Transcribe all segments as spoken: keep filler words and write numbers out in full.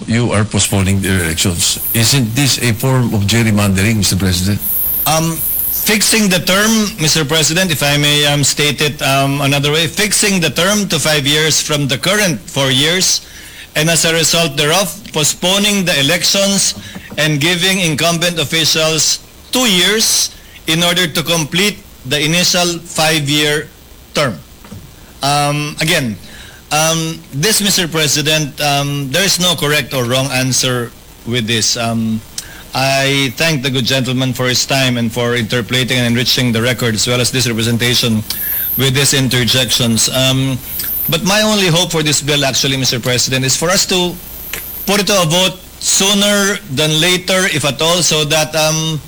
You are postponing the elections. Isn't this a form of gerrymandering, Mister President? Um, fixing the term, Mister President, if I may, um, state it, um, another way, fixing the term to five years from the current four years, and as a result thereof, postponing the elections and giving incumbent officials two years in order to complete the initial five-year term. Um, again, um, this, Mister President, um, there is no correct or wrong answer with this. Um, I thank the good gentleman for his time and for interpolating and enriching the record, as well as this representation with these interjections. Um, but my only hope for this bill, actually, Mister President, is for us to put it to a vote sooner than later, if at all, so that, um,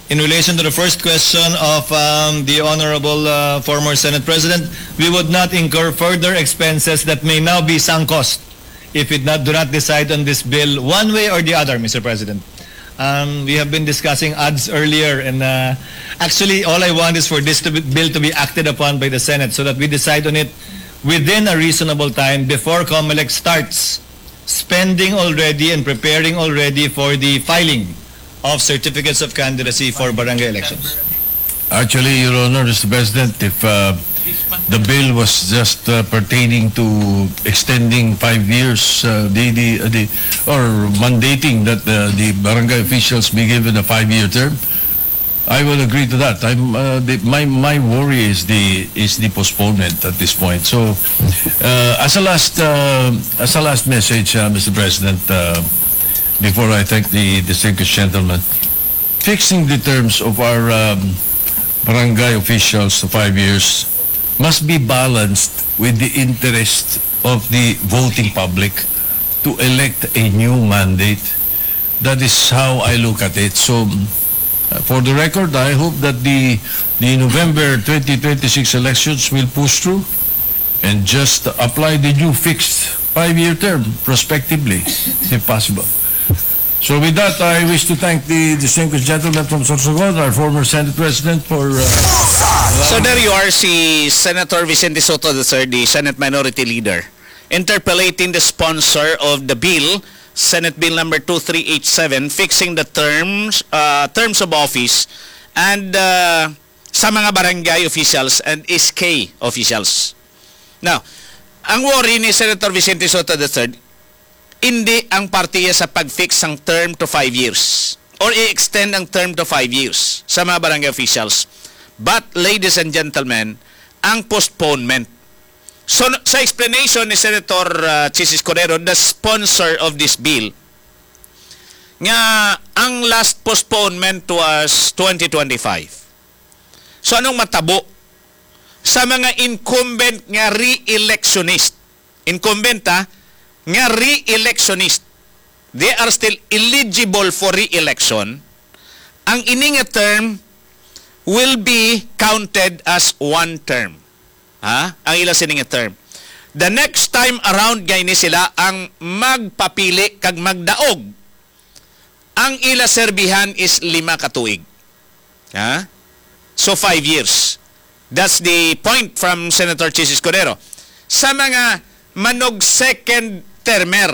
in relation to the first question of, um, the Honorable, uh, former Senate President, we would not incur further expenses that may now be sunk cost if we not, do not decide on this bill one way or the other, Mister President. Um, we have been discussing ads earlier, and, uh, actually, all I want is for this to be, bill to be acted upon by the Senate so that we decide on it within a reasonable time before COMELEC starts spending already and preparing already for the filing of certificates of candidacy for barangay elections. Actually, Your Honor, Mister President, if, uh, the bill was just, uh, pertaining to extending five years, uh, the, the, uh, the, or mandating that, uh, the barangay officials be given a five-year term, I will agree to that. I'm, uh, the, my, my worry is the, is the postponement at this point. So, uh, as a last, uh, as a last message, uh, Mister President, uh, before I thank the distinguished gentleman, fixing the terms of our, um, barangay officials to five years must be balanced with the interest of the voting public to elect a new mandate. That is how I look at it. So, uh, for the record, I hope that the, the November twenty twenty-six elections will push through and just apply the new fixed five-year term prospectively, if possible. So with that, I wish to thank the distinguished gentleman from Sorsogon, our former Senate President, for, uh, So there you are, si Senator Vicente Sotto the third, the Senate Minority Leader, interpolating the sponsor of the bill, Senate Bill number two three eight seven, fixing the terms, uh, terms of office and, uh, sa mga barangay officials and S K officials. Now, ang worry ni Senator Vicente Sotto the third, hindi ang partiya sa pag-fix sang term to five years or i-extend ang term to five years sa mga barangay officials. But, ladies and gentlemen, ang postponement. So, sa explanation ni Senator, uh, Chiz Escudero, the sponsor of this bill, nga ang last postponement was twenty twenty-five. So, anong matabo sa mga incumbent nga re-electionist? Incumbent, ha, nga re-electionist. They are still eligible for re-election. Ang ini nga term will be counted as one term. Ha? Ang ila sini nga term. The next time around, gani sila ang magpapili kag magdaog. Ang ila serbihan is lima ka tuig. Ha? So, five years. That's the point from Senator Chiz Escudero. Sa mga manog second termer,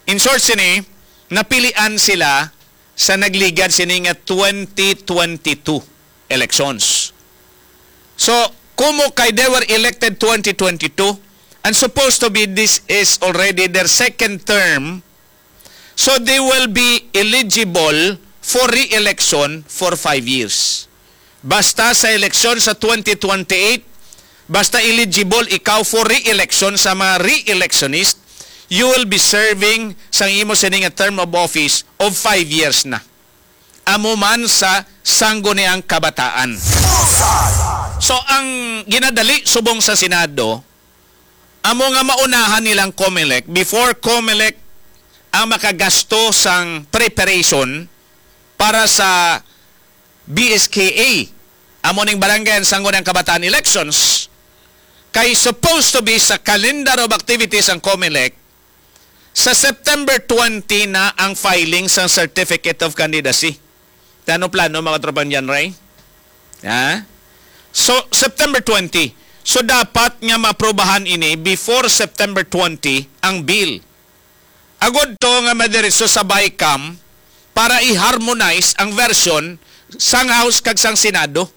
in short sini, napilian sila sa nagligad sini nga twenty twenty-two elections. So, kumo kay they were elected twenty twenty-two, and supposed to be this is already their second term, so they will be eligible for re-election for five years. Basta sa eleksyon sa twenty twenty-eight, basta eligible ikaw for re-election sa mga re-electionist, you will be serving sa imo sini nga term of office of five years na. Amo man sa Sangguniang Kabataan. So, ang ginadali subong sa Senado, amo nga maunahan nilang COMELEC, before COMELEC ang makagasto sang preparation para sa B S K A, amo ning Barangay and Sangguniang Kabataan elections, kay supposed to be sa calendar of activities ang COMELEC, sa September twenty na ang filing sang Certificate of Candidacy. Ano plano, mga tropang John Ray? Ha? So, September twenty. So, dapat nga maprobahan ini before September twenty ang bill. Agod to nga madiretso sa BICAM para i-harmonize ang version sang House kag sang Senado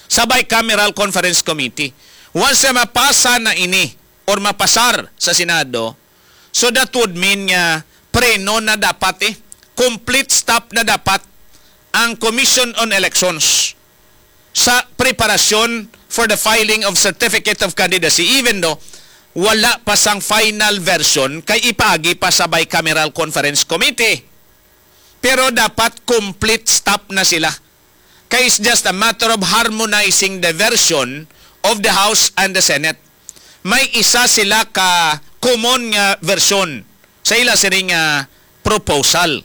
sa Bicameral Conference Committee. Once na mapasa na ini or mapasar sa Senado, so that would mean nga preno na dapat eh, complete stop na dapat ang Commission on Elections sa preparasyon for the filing of certificate of candidacy, even though wala pa sang final version kay ipaagi pa sa Bicameral Conference Committee. Pero dapat complete stop na sila. Kay it's just a matter of harmonizing the version of the House and the Senate. May isa sila ka common nga version sa ila sini nga proposal.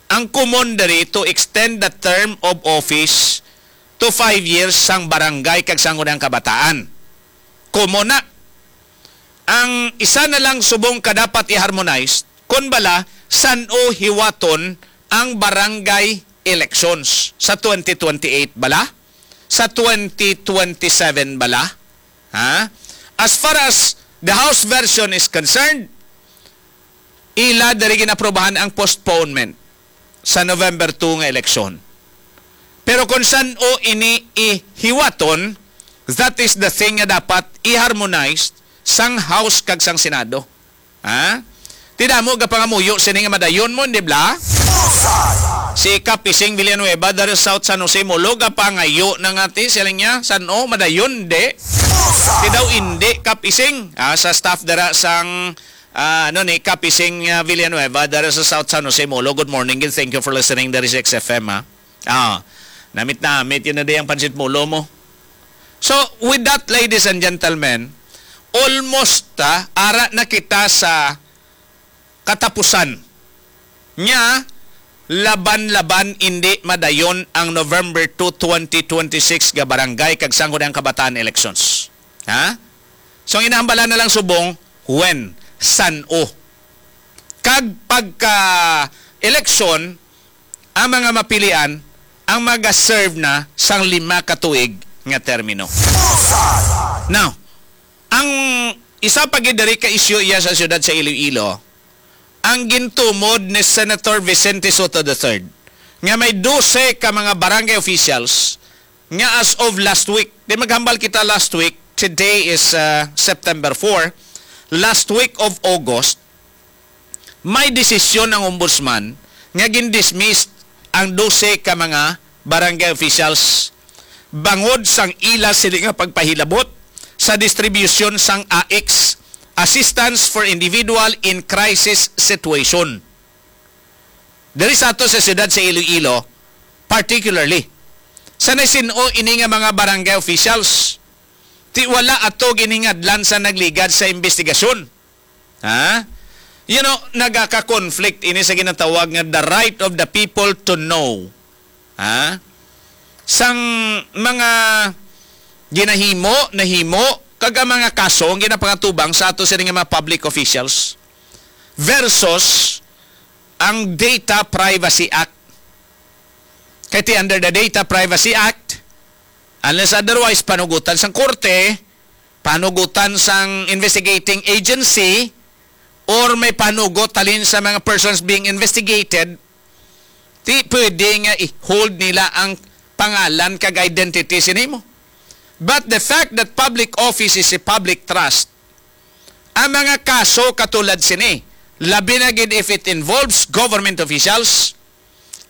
Ang common diri to extend the term of office to five years sang barangay kag sangguniang kabataan. Common na. Ang isa na lang subong ka dapat i-harmonize, kun bala, san-o hiwaton ang barangay elections sa twenty twenty-eight bala? Sa twenty twenty-seven bala? Ha? As far as the House version is concerned, ila diri ginaprobahan ang postponement sa November two nga eleksyon. Pero kung san-o ini ihiwaton, that is the thing nga dapat i-harmonize sang House kag sang Senado. Ha? Ti damo gapangamuyo sini nga madayon mo, di bla? Si Kap Ising Villanueva, dari sa South San Jose, Molo, gapangayo na nga ti, siling niya, san-o, madayon, di? Ti daw, indi, Kap Ising. Ah, sa staff dara sang, ah, ano ni, Kap Ising, ah, Villanueva, dari sa South San Jose, Molo. Good morning, and thank you for listening. Dari sa X F M, ha? Ah, namit-namit, yun na di ang pansit molo mo. So, with that, ladies and gentlemen, almost, ah, ara na kita sa katapusan. Nya, laban-laban indi madayon ang November two, twenty twenty-six nga barangay kag sangguniang kabataan elections. Ha? So, ang inahambalan na lang subong, when, san-o. Kag pagka eleksyon, ang mga mapilian ang maga-serve na sang lima ka tuig nga termino. Now, ang isa pa gid diri ka isyu iya sa siyudad sa Iloilo, ang gintumod ni Senator Vicente Sotto the third nga may dose ka mga barangay officials nga as of last week, di maghambal kita last week, today is, uh, September four, last week of August, may desisyon ang ombudsman nga gindismiss ang dose ka mga barangay officials bangod sang ila sini nga pagpahilabot sa distribusyon sang A I C S, Assistance for Individual in Crisis Situation. Diri sa ato sa siyudad sa Iloilo, particularly, sa naisin-o ini nga mga barangay officials, ti wala ato giningadlan sa nagligad sa investigasyon. Ha? You know, nagaka-conflict ini sa ginatawag nga the right of the people to know. Ha? Sang mga ginahimo, nahimo, kag ang mga kaso ang ginapangatubang sa ato sini nga mga public officials versus ang Data Privacy Act. Kay ti under the Data Privacy Act, unless otherwise panugutan sang korte, panugutan sang investigating agency, or may panugot halin sa mga persons being investigated, ti pwede nga i-hold nila ang pangalan kag identity sini mo. But the fact that public office is a public trust, ang mga kaso katulad sini, labi na gid if it involves government officials,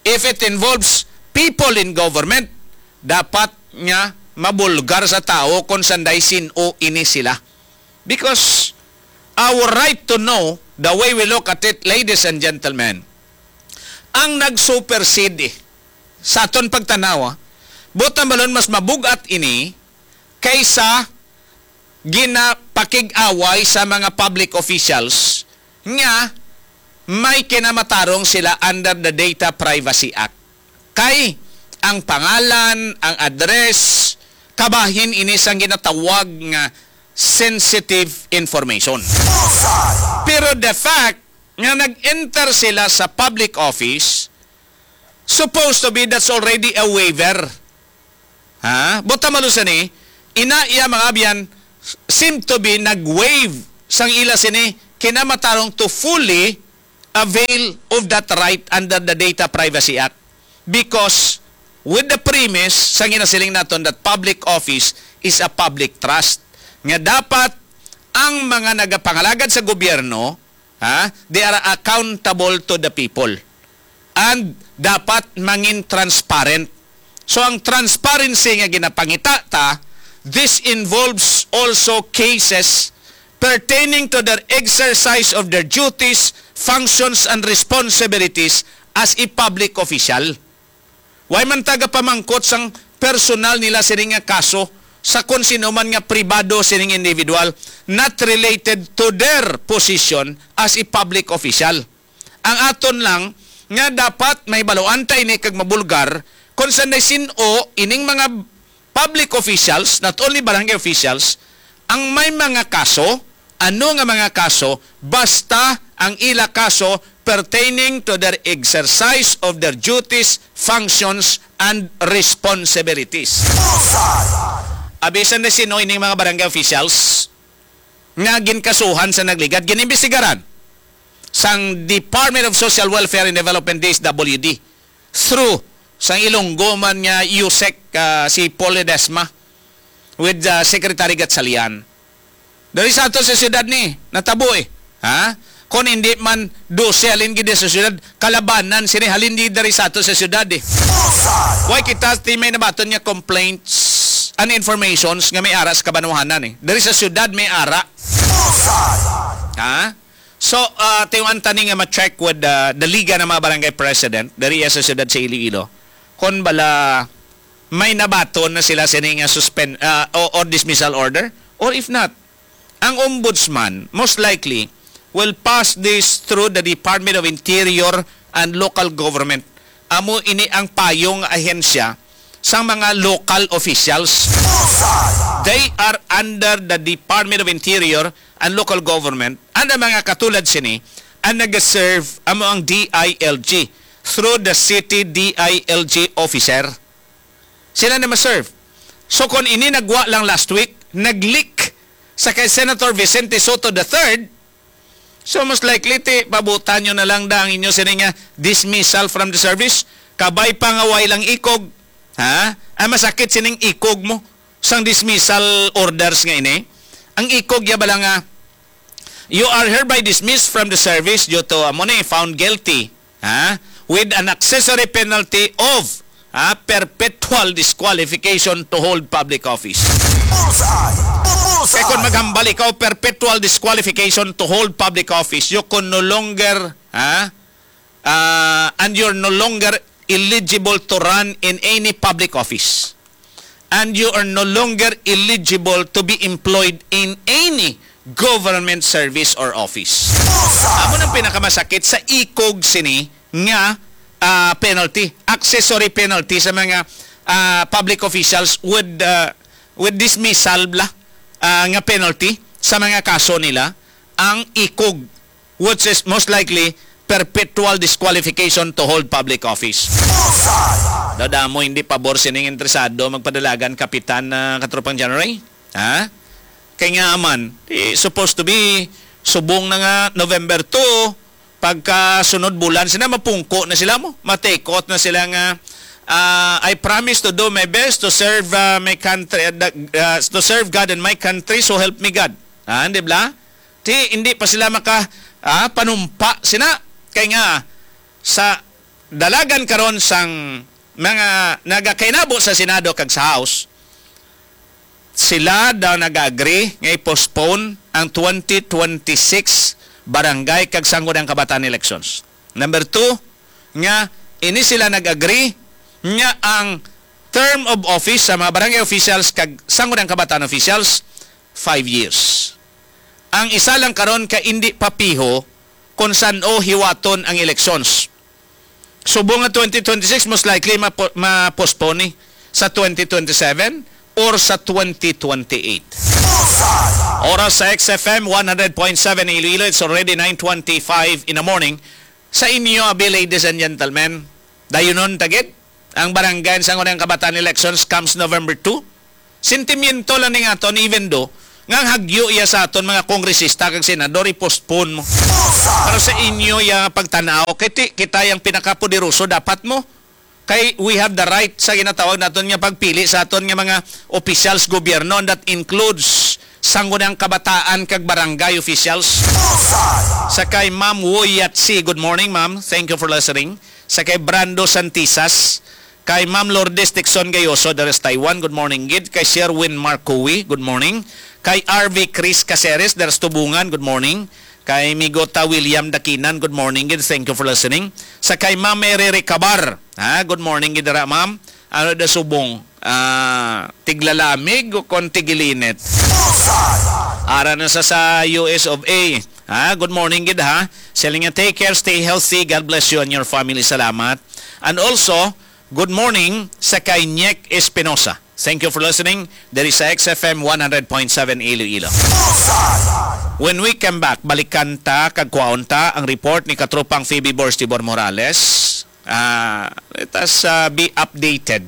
if it involves people in government, dapat nga mabulgar sa tawo kung sanday sin-o ini sila. Because our right to know, the way we look at it, ladies and gentlemen, ang nag-supersede sa aton pagtanaw, ah, buot hambalon mas mabugat ini kaysa ginapakig-away sa mga public officials nga may kinamatarong sila under the Data Privacy Act. Kay ang pangalan, ang address, kabahin ini sang ginatawag nga sensitive information. Pero the fact nga nag-enter sila sa public office, supposed to be that's already a waiver. Ha? Buot hambalon sini, ina iya mga abyan seem to be nag-waive sang ila sini kinamatarong to fully avail of that right under the Data Privacy Act, because with the premise sa ginasiling naton that public office is a public trust, nga dapat ang mga nagapangalagad sa gobyerno, ha, they are accountable to the people, and dapat mangin transparent. So, ang transparency nga ginapangita ta, this involves also cases pertaining to their exercise of their duties, functions, and responsibilities as a public official. Way man taga pamangkot sang personal nila sini nga kaso sa kon sino man nga pribado sining individual, not related to their position as a public official. Ang aton lang nga dapat mahibaluan ta ini kag mabulgar, kung sanday sin-o ining mga public officials, not only barangay officials, ang may mga kaso, ano nga mga kaso, basta ang ila kaso pertaining to their exercise of their duties, functions, and responsibilities. Abisan na sino ining mga barangay officials nga ginkasuhan sa nagligad, ginimbestigaran sang Department of Social Welfare and Development, D S W D, through sang Ilonggo man nga USEC, ah, si Paul Ledesma with, ah, Secretary Gatchalian. Dari sa ato sa siyudad ni natabo, eh. Ha? Kon hindi man dose halin gid sa siyudad, kalabanan sini halin di dari sa ato sa siyudad, eh. Way kita ti may nabaton nga complaints and informations nga may ara sa kabanwahanan, eh. Dari sa siyudad may ara. Ha? So, ah, tiwan tani nga ma-check with, ah, the Liga ng mga Barangay President dari sa siyudad sa Iloilo. Kon bala may nabaton na sila sini nga suspend, ah, o, or dismissal order, or if not, ang ombudsman most likely will pass this through the Department of Interior and Local Government. Amo ini ang payong ahensya sang mga local officials. They are under the Department of Interior and Local Government, and ang mga katulad sini ang nag-serve amo ang D I L G through the city D I L G officer. Sila na ma-serve. So, kung ini nagwa lang last week, nag-leak sa kay Senator Vicente Sotto the third, so, most likely, ti, pabutan nyo na lang da ang inyo sini nga dismissal from the service. Kabay pa nga way lang ikog. Ha? Ang masakit sining ikog mo sang dismissal orders nga ini. Ang ikog ya bala nga, "You are hereby dismissed from the service due to," amo ni, "found guilty, ha, with an accessory penalty of, ha, perpetual disqualification to hold public office." Bullseye! Bullseye! Kay kung maghambal ikaw, perpetual disqualification to hold public office, you can no longer, ha, ah, and you're no longer eligible to run in any public office. And you are no longer eligible to be employed in any government service or office. Amo nang pinakamasakit sa ikog sini nga, ah, penalty, accessory penalty sa mga, ah, public officials with, ah, with dismissal bla, ah, nga penalty sa mga kaso nila, ang ikog, which is most likely perpetual disqualification to hold public office. Dadamo hindi pabor sining interesado magpadalagan, Kapitan, ah, Katropang January. Ha? Kay nga man, di, supposed to be, subong na nga November two, pagka sunod bulan, sina mapungko na sila mo, ma-take out na sila nga, ah, "I promise to do my best to serve, ah, my country, ah, the, ah, to serve God and my country, so help me God." Ah, di bla? Ti, hindi pa sila maka, ah, panumpa sina. Kay nga, sa dalagan karon sang mga nagakainabo sa Senado kag sa House, sila daw nag-agree nga i-postpone ang twenty twenty-six barangay kag sangguniang kabataan elections. Number two, nga ini sila nag-agree nga ang term of office sa mga barangay officials kag sangguniang kabataan officials, five years. Ang isa lang karon ka indi pa piho kung san-o hiwaton ang elections. Subong nga twenty twenty-six, most likely mapo-, ma-postpone ni sa twenty twenty-seven or sa twenty twenty-eight. Oras sa X F M one hundred point seven Iloilo, it's already nine twenty-five in the morning. Sa inyo, abi, ladies and gentlemen, dayunon ta gid ang barangay sa ngunang kabataan elections comes November two. Sentimiento lang ning aton, even though Nga hagyo iya sa aton mga kongresista kag senador, i-postpone mo. Para sa inyo ya pagtan-aw, kay ti-, kita yang pinakapoderoso, dapat mo. Kay we have the right sa ginatawag naton nga pagpili sa aton nga mga officials gobyerno, and that includes sangguniang kabataan kag barangay officials. Sa kay Ma'am Woyatsi, good morning, ma'am. Thank you for listening. Sa kay Brando Santisas, kay Ma'am Lourdes Dixon Gayoso, dari sa Taiwan, good morning gid. Kay Sherwin Marcowi, good morning. Kay R V Chris Caceres, dari sa Tubungan, good morning. Kay Migota William Dakinan, good morning gid. Thank you for listening. Sa kay Ma'am Mary Recabar, ha, good morning gid dira, ma'am. Ano da subong? Ah, tiglalamig o kon tigilinit? Ara na sa, sa U S of A. Ha, good morning gid, ha. Siling niya, "Take care, stay healthy. God bless you and your family." Salamat. And also, good morning sa kay Nyek Espinosa. Thank you for listening. Diri sa X F M one hundred point seven Iloilo. When we come back, balikan ta kag kwaon ta ang report ni Katropang Phoebe Borstibor Morales. Ah, let us, ah, be updated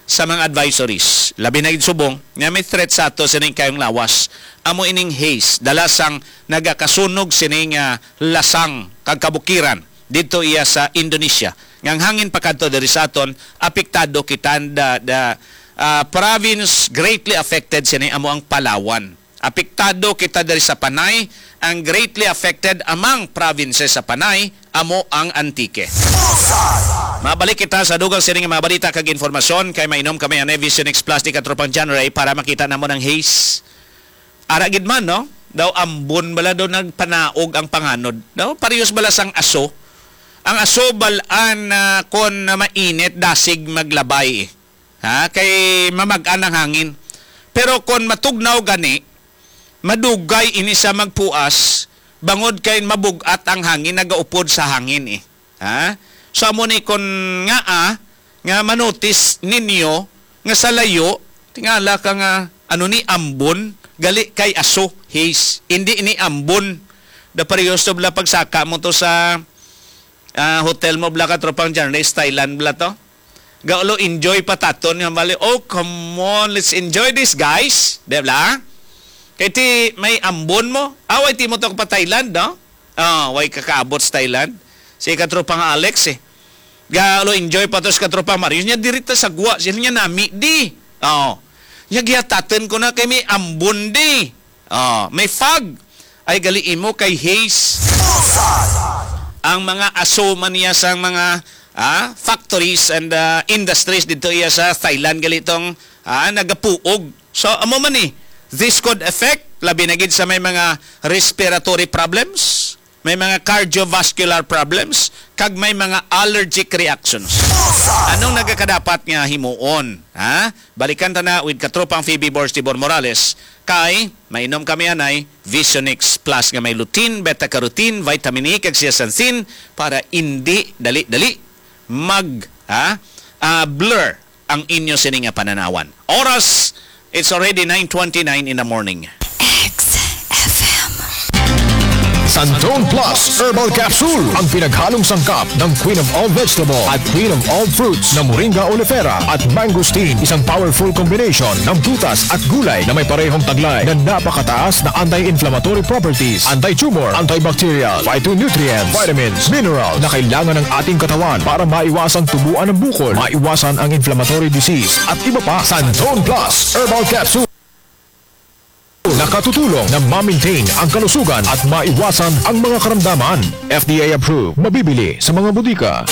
sa mga advisories. Labi na gid subong nga may threat sa ato sining kayong lawas. Amo ining haze, dala sang nagakasunog sining, ah, lasang kag kabukiran didto iya sa Indonesia. Nga ang hangin pakadto diri sa aton, apektado kita, the, the, ah, province greatly affected sini amo ang Palawan. Apektado kita diri sa Panay, ang greatly affected among provinces sa Panay amo ang Antique. Mabalik kita sa dugang sini nga mga balita kag informasyon kay mainom kami ang Vision X Plus ni Katropang John Ray para makita namo ng haze. Ara gid man, no? Daw ambon bala daw nagpanaog ang panganod. Daw parehas bala sang aso. Ang aso balaan na kon mainit dasig maglabay, eh. Ha? Kay mamag-an ang hangin. Pero kon matugnaw gani, madugay ini sa magpuas, bangod kay mabug-at ang hangin, nagaupod sa hangin, eh. Ha? So, amo ni kon nga, ah, nga manotis ninyo nga sa layo, tingala ka nga, ano ni, ambon, gali kay aso, haze. Hindi ni ambon. Da parehas to bala pagsaka mo to sa, ah, hotel mo bala, Katropang John Ray, Thailand bala to. Gaulo, enjoy pa taton nga bali. Oh, come on, let's enjoy this, guys. Di bala? Kay ti may ambon mo. Away ti mo to pa Thailand, no? Ah, way kakaabot sa Thailand. Si Katropang Alex, eh. Galo, enjoy pa to sa Katropang Marius. Nya, diri ta sa gwa. Sila nya nami, di. Oh. Nya, gihataton ko na kay may ambon, di. Oh, may fog. Ay, gali imo kay haze. Ang mga aso man niya sa mga, ah, factories and, ah, industries dito iya sa Thailand, gali tong, ah, nagapuog. So, amo man ni, this could affect, labi na gid sa may mga respiratory problems, may mga cardiovascular problems, kag may mga allergic reactions. Anong nagakadapat nga himuon? Ha? Balikan ta na with Katropang Phoebe Borstibor Morales, kay mainom kami anay Vision X Plus nga may lutein, beta-carotene, vitamin E, kag zeaxanthin para indi dali-dali mag, ha? Ah, blur ang inyo sini nga pananawan. Oras, it's already nine twenty-nine in the morning. X F M. Santon Plus Herbal Capsule, ang pinaghalong sangkap ng Queen of All Vegetable at Queen of All Fruits na Moringa oleifera at mangosteen, isang powerful combination ng prutas at gulay na may parehong taglay na napakataas na anti-inflammatory properties, anti-tumor, antibacterial, phytonutrients, vitamins, minerals na kailangan ng ating katawan para maiwasan tubuan ng bukol, maiwasan ang inflammatory disease at iba pa. Santon Plus Herbal Capsule. Nakatutulong na ma-maintain ang kalusugan at maiwasan ang mga karamdaman. F D A approved. Mabibili sa mga botika.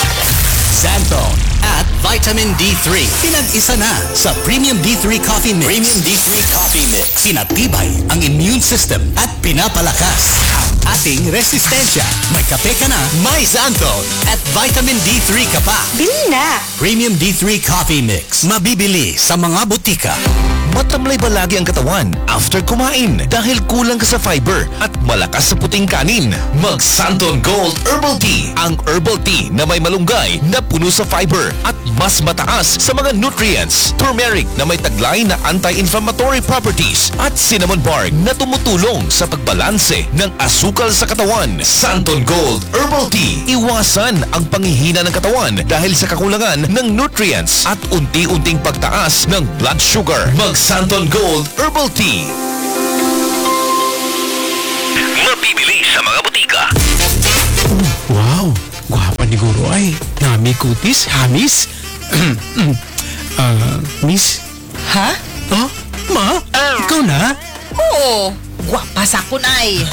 Xanthone at vitamin D three. Pinag-isa na sa Premium D three Coffee Mix. Premium D three Coffee Mix. Pinatibay ang immune system at pinapalakas ang ating resistensya. May kape ka na, may Xanthone at vitamin D three ka pa. Bili na! Premium D three Coffee Mix. Mabibili sa mga botika. Matamlay ba lagi ang katawan after kumain dahil kulang ka sa fiber at malakas sa puting kanin? Mag Santon Gold Herbal Tea, ang herbal tea na may malunggay na puno sa fiber at mas mataas sa mga nutrients. Turmeric na may taglay na anti-inflammatory properties at cinnamon bark na tumutulong sa pagbalanse ng asukal sa katawan. Santon Gold Herbal Tea. Iwasan ang panghihina ng katawan dahil sa kakulangan ng nutrients at unti-unting pagtaas ng blood sugar. Mag Santon Gold Herbal Tea. Siguro ay nami kutis, hamis. Ah, miss? Ha? Oh, ma? Ikaw na? Oo, gwapa sa akon ay.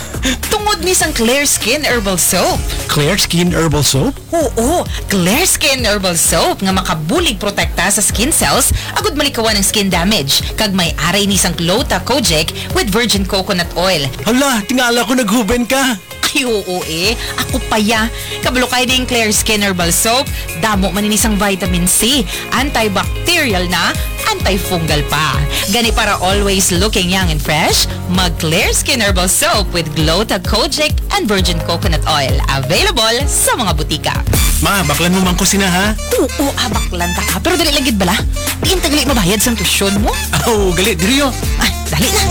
Tungod ni sang Clear Skin Herbal Soap. Clear Skin Herbal Soap? Oo, Clear Skin Herbal Soap nga makabulig protekta sa skin cells agud malikawan ang skin damage, kag may aray ni sang Gluta Kojic with virgin coconut oil. Hala, tingala ko naghuben ka. Ay, oo eh. Ako pa ya. Kabalo kay ning Clear Skin Herbal Soap, damo man ini sang vitamin C, antibacterial na, antifungal pa. Gani, para always looking young and fresh, mag Clear Skin Herbal Soap with Gluta Kojic and virgin coconut oil. Available sa mga butika. Ma, baklan mo man ko sina, ha? Oo, abaklan ta ka. Pero dali lang gid bala. Diin ta gali mabayad sang tuition mo? Oh, gali, diri, oh. Ah, dali na.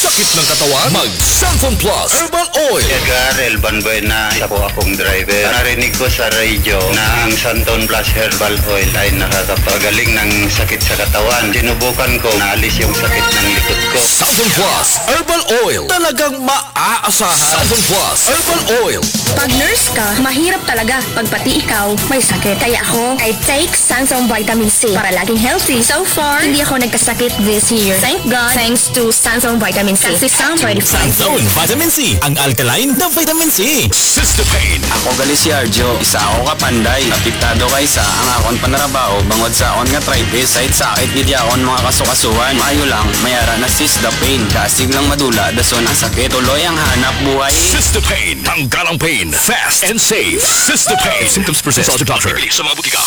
Sakit ng katawan? Mag Santon Plus Herbal Oil. Edgar Elban Buena, isa po akong driver. Narinig ko sa radyo na ang Santon Plus Herbal Oil ay nakakapagaling ng sakit sa katawan. Sinubukan ko, naalis yung sakit ng likod ko. Santon Plus Herbal Oil. Talagang maaasahan. Santon Plus Herbal Oil. Pag nurse ka, mahirap talaga pag pati ikaw may sakit. Kaya ako, I take Sanzone Vitamin C para laging healthy. So far, hindi ako nagkasakit this year. Thank God. Thanks to Sanzone Vitamin C. Kasi some ready Santon Vitamin C, ang alkaline na vitamin C. Cystopain. Ako gali si Arjo, isa ako ka panday. Apektado kay sa ang akon panarabaho bangod sa akon nga tripe. Sakit gid akon mga kasukasuhan. Maayo lang, may ara na Cystopain. Kasig lang madula, dason ang sakit. Tuloy ang hanap buhay. Cystopain. Tanggal ang pain. Fast and safe. Cystopain. Symptoms persist. Consult your doctor. Sa mga butika.